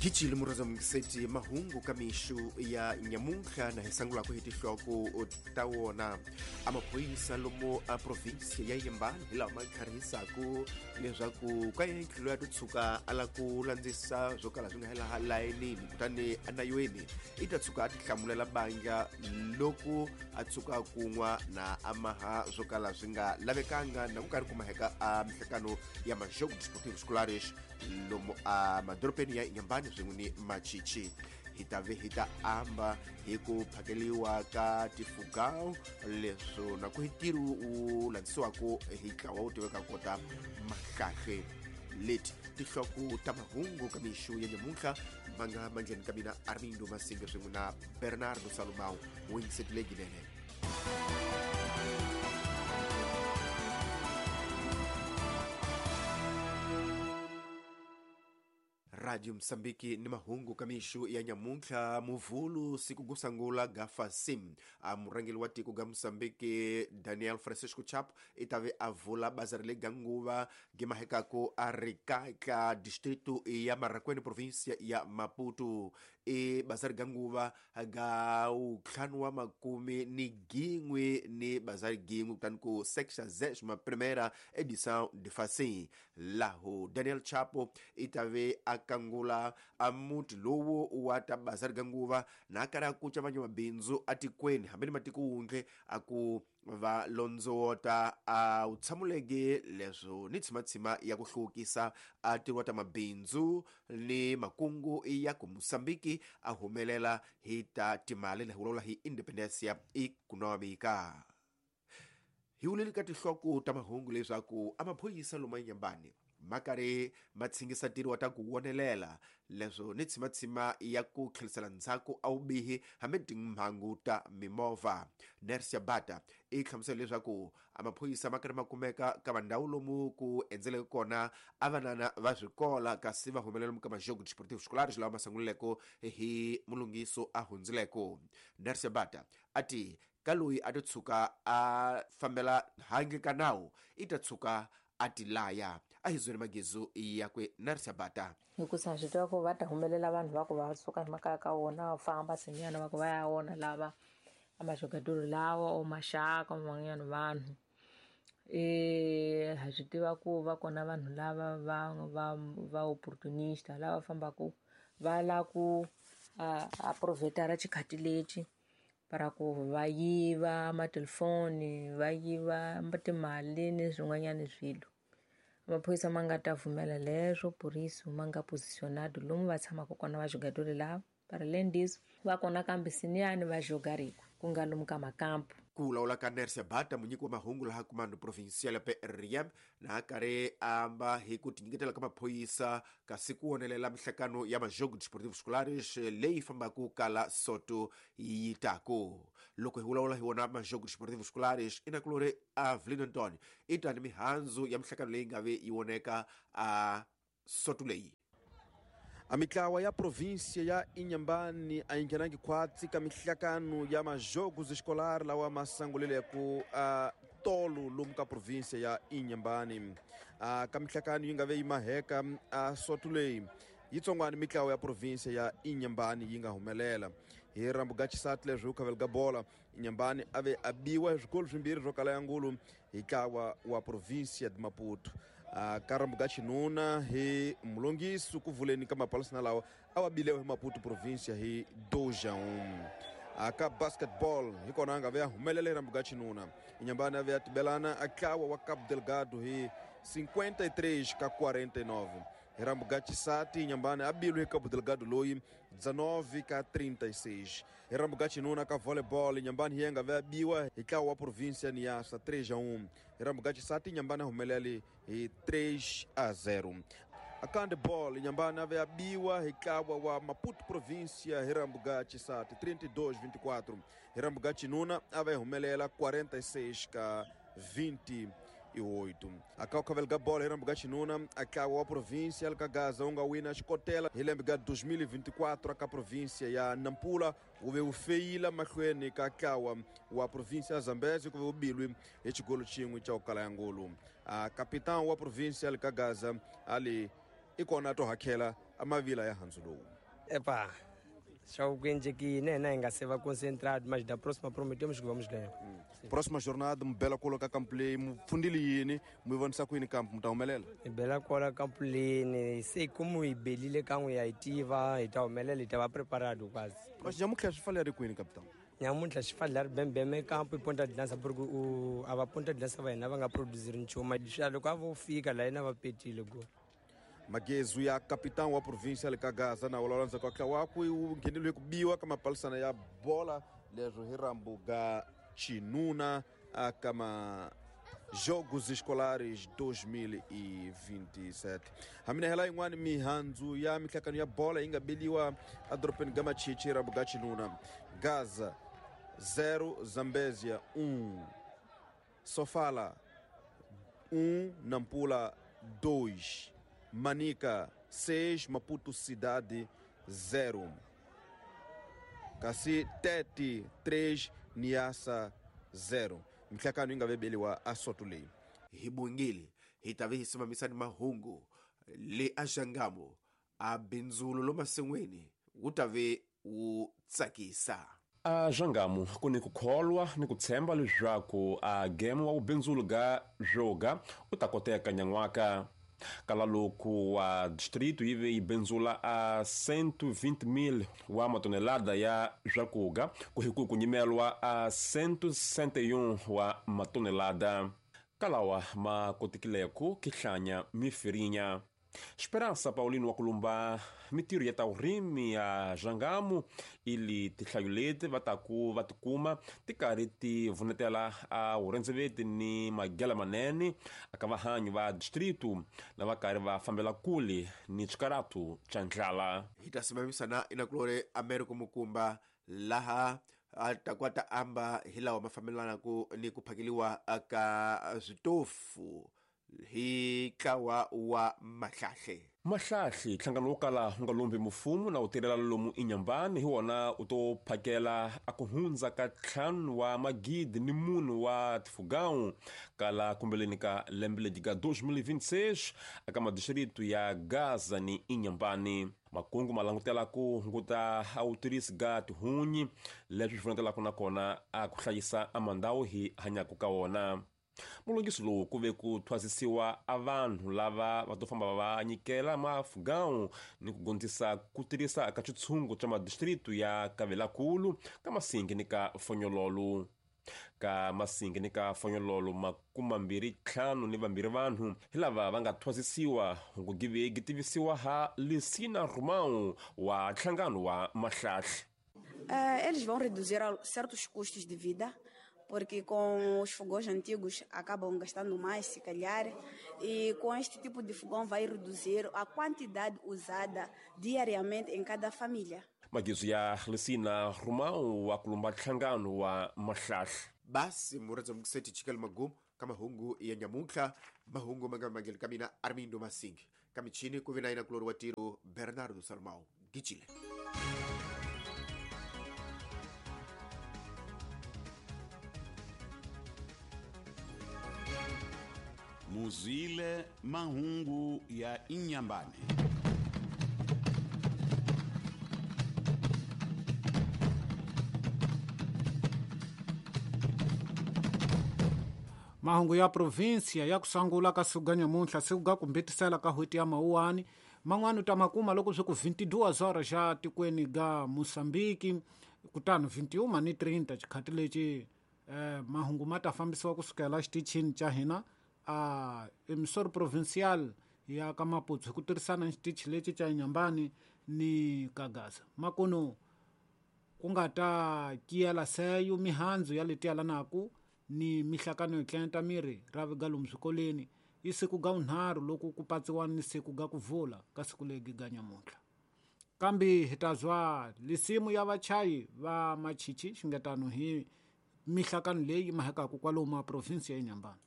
Khichile murhandza mungiseti mahungu ka mixu ya nyamuntlha na hi sangulaka hi tinhloko ta wona. A maphorisa lomu a provinsi ya Inhambane hi lawa ma tlharihisaku leswaku ka yentlhelo ya titshuka a la ku landzisa swo kala swi nga hela layinini, kutani anayweni i ta tshuka a tihlamulela bandla loko a tshuka kun'wa na amaha swo kala swi nga lavekanga na ku karhi kumaheka a mihlekano ya majogo desportivo escolares lomu a madorobeni ya Inhambane swin'we ni Machichi. Hi ta ve hi ta amba hi ku phakeliwa ka tifugao leswo na ku hi ntirho wu landzisiwaka hi ntlawa wu tiveka kota mahlahle. Leti tinhloko ta mahungu ka mixu ya nyamuntlha ma nga mandleni ka mina Armindo Masinga swin'we na Bernardo Salomão wingisetile ginene. Radio Msambiki ni mahungu ka mixu ya nyamuntlha muvhulu siku kusangula gafa sim. A murhangeri wa tiko ga Msambiki Daniel Francisco Chapo i ta ve a vula bazari leyi ga nguva gimahekako a ri ka distrito ya Marracuene provinsia ya Maputo. I bazari ga nguva ga ntlhanu wa makume ni gin'we ni bazari gin'we kutani ku sexagésima primeira edição de Facim. Laho Daniel Chapo i ta ve a kangula a muti lowu wa ta bazari ga nguva na karhi a kuca van'wamabindzu atikweni hambi ni matiko wundle a ku va londzowota a wu tshamuleke leswo ni tshimatshima ya ku hluvukisa a tirhiwa ta mabindzu ni makungu ya ku Mosambiki a humelela hi ta timali na hi vulavula hi independencia econômica. Hi vuleli ka tinhloko ta mahungu leswaku a maphorisa lomu Inhambane ma karhi ma tshingisa ntirho wa ta ku wonelela leswo ni tshimatshima ya ku tlherisela ndzhaku a wubihi hambi timhangu ta mimovha. Nersia Bata i hlamusela leswaku a maphorisa ma karhi ma kumeka ka vandhawu lomu ku endzeleke kona a vanana va swikola kasi va humelela lomu ka majogo desportivo escolares lawa ma sungulileko hi mulunghiso a hundzileko. Nersia Bata a ti ka loyi a to tshuka a fambela handle ka nawu i ta tshuka a ti laya. A hi zwele magezu yakwe Nersia Bata. Hikusa swi tiva ku va ta humelela vanhu va ku va suka hi makaya ka vona va famba sinyana va ku va ya vona lava a majogadoro lawa o maxaka van'wanyana vanhu. Ha swi tiva ku va kona vanhu lava va opportunista lava fambaka va la ku a provhetara xikhati lexi para ku va yiva matelefoni va yiva timali ni swin'wanyana swilo. Maphorisa ma nga ta pfumela leswo poriso ma nga positionado lomu va tshamaka kona va jogadori lava para além disso va kona kambe siniyani va jogariko ku nga lomu ka makampu. Ku vulavula ka Nersia Bata munyiki wa mahungu laha Comando Provincial ya PRM na karhi amba hi ku tinyiketela ka maphorisa kasi ku wonelela mihlekano ya majogo desportivo escolares leyi fambaka kala soto yi taku. Loko hi vulavula hi wona majogo desportivo escolares i nakulori Avelino Antonio i tani mihandzu ya mihlekano leyi nga ve yi voneka a soto leyi. A mitlawa ya província ya Inhambane a yi nghenangi khwatsi ka mihlakano ya majogos escolar lawa ma sangulileko a tolo lomu ka província ya Inhambane. A ka mihlakano yi nga ve yi maheka a soto leyi yitsongwana mitlawa ya província ya Inhambane yi nga humelela hi rambu ga xisati leswi khavela ga bola. Inhambane a ve a biwa hi swikolo swimbirhi swo kala ya ngulu hi ntlawa wa província de Maputo. Ka rambu ga xinuna hi mulongisi ku vuleni ka mapalasina lawa a wa bilewa hi Maputo província hi 2-1. Ka basketball hi kona a nga ve a humelela hi rambu ga xinuna. Inhambane a ve a tibelana a ntlawa wa Cabo Delgado hi 53 ka 49. Hi rambu ga xisati Inhambane a bilwe hi Cabo Delgado loyi 19 ka 36. Hi rambu ga xinuna ka volleyball Inhambane hi nga ve a biwa hi ntlawa wa província Niassa 3-1. Hi rambu ga xisati Inhambane a humelele hi 3-0. A ka handball Inhambane a ve a biwa hi ntlawa wa Maputo província hi rambu ga xisati 32-24. Hi rambu ga xinuna a ve humelela 46 ka 28. A ka khavela ga bola hi rambu ga xinuna a ntlawa wa província ka Gaza wu nga wina xikotela hi lembe ga 2024 ka província ya Nampula wu ve wu feyila mahlweni ka ntlawa wa província ya Zambezi ku ve wu bilwi hi xigolo xin'we xa ku kala ya ngulu. A capitão wa província ka Gaza ali i kona to hakhela a mavila ya handzu lowu. Epa, só o que aqui, né, nem se vai concentrado, mas da próxima prometemos que vamos ganhar. Próxima jornada, bela coloca campo lei, fundilini, mu vonisa ku yini campo mutaumelela. Bela kola campo lei, sei como ibelile kangu ya itiva, itaumelela itava preparado quase. Mas nyamuhla swi fanele ri kwini capitão? Nyamuntlha swi fanele ri bembeme campo i ponta de lança porque o a va ponta de lança va hina va nga produzir nchumu. Loko a vo fika la hina va petile go. Magezu ya capitão wa província le ka Gaza na wololanza kwa klawakwe u ngheneliwe ku biwa ka mapalisana ya bola leswo hi rambu ga Chinuna kama Jogos Escolares 2027. Hamina hela yin'wana mihandzu ya mihlakano ya bola yi nga beliwa edorobeni ga Machichi rambu ga Chinuna. Gaza 0 Zambezia 1, Sofala 1, Nampula 2, Manica 6, Maputo Cidade 0. Kasi Tete 3, Niassa 0. Mihlakano yi nga vebeliwa a soto leyi. Hi bungile hi ta ve hi simamisa ni mahungu le a Xangamo a bindzulo lomasin'wini wu ta ve wu tsakisa. A Xangamo ku ni ku kholwa ni ku tshemba leswaku a game wa vubindzulu ga zwoga u ta koteka nyan'waka. Kala loku wa distrito yi ve yi bindzula a 120,000 wa matonelada ya swakuga ku hi ku nyimelwa a 161 wa matonelada. Kalawa ma kotikileku kihlanya mifirinya. Esperança Paulino wa kulumba mitirho ya ta vurimi ya Xangamo ili tinhlayo leti va taku va tikuma ti karhi ti vunetela a vurhendzeveti ni magela manene aka vahanyi va distrito na va karhi va fambela kule ni xikaratu xa ndlala. Hi ta simamisana inakulore Americo Mukumba laha a ta kwata amba hi lawa ma fambelanaka ni ku phakeliwa ka switofu hi ntlawa wa Mahlahle. Mahlahle nhlangano wo kala wu nga lombi mfumo na wu tirhela lomu Inhambane hi wona u to phakela a ku hundza ka 5 wa magidi ni munhu wa tifugão kala kumbeleni ka lembe ledi ka 2026 aka madistrito ya Gaza ni Inhambane. Makungu ma langutela ku hunguta a wutirhisi ga tihunyi leswi swi pfunetelaka nakona a ku hlayisa a mandhawu hi hanyaka ka wona. Mulungisi lowu ku ve ku thwasisiwa a vanhu lava va to famba va nyikela mafugão ni ku gondzisa ku tirhisa ka xitshungu xa madistrito ya Kavelakulu ka Masingi ni ka Fonyololo. Ka Masingi ni ka Fonyololo 25 vanhu hi lava va nga thwasisiwa ku give tivisiwa ha Lisina Romão wa nhlangano wa Mahlahle. Eles vão reduzir certos custos de vida, porque com os fogões antigos acabam gastando mais, se calhar, e com este tipo de fogão vai reduzir a quantidade usada diariamente em cada família. Magizo ya Lisina Romão wa kulumba nhlangano wa Mahlahle. Basi muradza mukiseti chikali magumu ka mahungu ya nyamuntlha, mahungu ma nga mangeli ka mina Armindo Masingi, ka michini ku vi na yina kulori wa tiro Bernardo Salmao Gicile. Muzile mahungu ya Inhambane. Mahungu ya província ya kusangula ka siku ga nyamuntlha siku ga kumbetisela ka hweti ya mawuwani man'wani u ta makuma loko swi ku 22 horas xa tikweni ga Moçambique kutani 21:30 xikhati lexi mahungu ma ta fambisiwa kusukela xitichini xa hina a emissor provincial ya ka Maputo hi ku tirhisana xitichi lexi xa Inhambane ni ka Gaza. Makuno ku nga ta kiyela seyo mihandzu ya leti yalanaku ni mihlakano yo tlenta miri ra viga lomu swikolweni i siku ga vunharhu loko ku patsiwa ni siku ga ku vula ka siku legi ga nyamuntlha. Kambe hi ta zwa lisimu ya vachayi va machichi xingetano hi mihlakano leyi mahekaku kwalomu a provinsi ya Inhambane.